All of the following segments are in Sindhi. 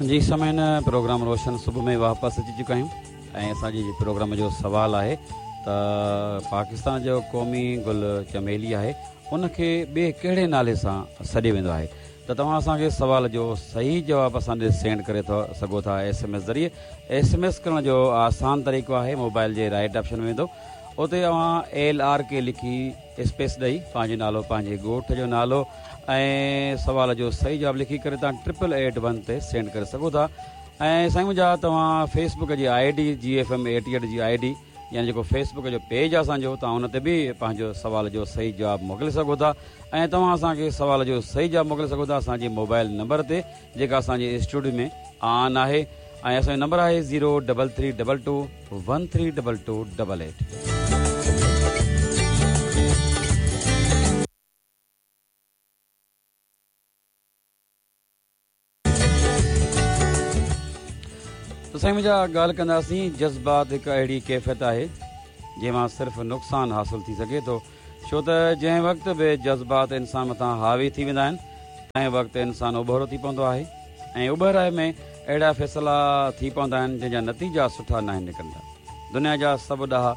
جي سامعين پروگرام روشن صبح ۾ واپس اچي چڪا آهيون ۽ اسان جي پروگرام جو سوال آهي ته پاڪستان جو قومي گل چميلي آهي ان کي ٻئي ڪهڙي نالي سان سڏيو ويندو آهي ته توهان اسان کي سوال جو صحيح جواب اسان ڏي سينڊ ڪري ٿا سگهو ٿا ايس ايم ايس ذريعي ايس ايم ايس ڪرڻ جو آسان طريقو آهي موبائل جي رائيٽ آپشن ۾ ويندو اتي اوهان ايل آر ڪي لکي اسپيس ڏئي پنهنجو نالو پنهنجي ڳوٺ جو نالو ۽ سوال جو صحيح جواب لکي ڪري توهان ٽرپل ايٽ ون تي سينڊ ڪري سگهو ٿا ۽ سائين منهنجا توهان فيس بڪ جي I D G F M 88 جي I D يعني جيڪو فيس بڪ جو پيج آهي اسان جو توهان ان تي به پنهنجو سوال جو صحيح جواب موڪلي سگهو ٿا ۽ توهان اسان کي سوال جو صحيح جواب موڪلي سگهو ٿا اسان جي موبائل نمبر تي جيڪا اسان جي اسٽوڊيو ۾ آن آهي ۽ اسان جو نمبر آهي zero double three double two one three double two double eight. ته سائين منهنجا ڳالهه ڪنداسين جذبات هڪ اهڙي ڪيفيت آهي جنهن مان صرف نقصان حاصل ٿي سگهي ٿو ڇو ته جنهن وقت به جذبات انسان مٿان حاوي ٿي ويندا آهن، تنهن وقت انسان اٻهرو ٿي پوندو آهي ۽ اٻهرائي ۾ اهڙا فيصلا ٿي پوندا آهن، جنهن جا نتيجا سٺا ناهن نڪرندا. دنيا جا سڀ ڏاها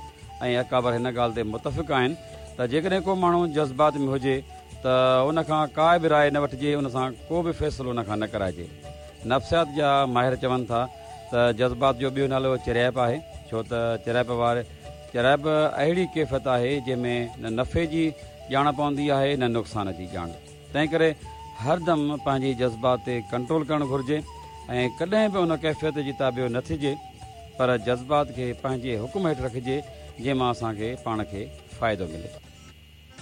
۽ اڪابر هن ڳالهه تي متفق آهن ته جيڪڏهن ڪو ماڻهو جذبات ۾ هجي ته ان کان ڪا به راء نه وٺجي، ان سان ڪو به فيصلو ان کان نه ڪرائجي. نفسيات جا ماهر چون ٿا ته جذبات جو ٻيو نالو چريائپ آهي، ڇو ته چريائپ واري. چريائپ اهڙي ڪيفيت آهي جنهن ۾ نه نفعي جي ڄاڻ پوندي آهي نه نقصان جي ڄاڻ. تنهنڪري هر دم پنهنجي جذبات تي ڪنٽرول ڪرڻ گهرجي ۽ ڪڏهن به ان ڪيفيت جي تابع نه ٿجي پر جذبات کي پنهنجي حڪم هيٺ رکجي جنهن مان اسان کي پاڻ کي فائدو ملي.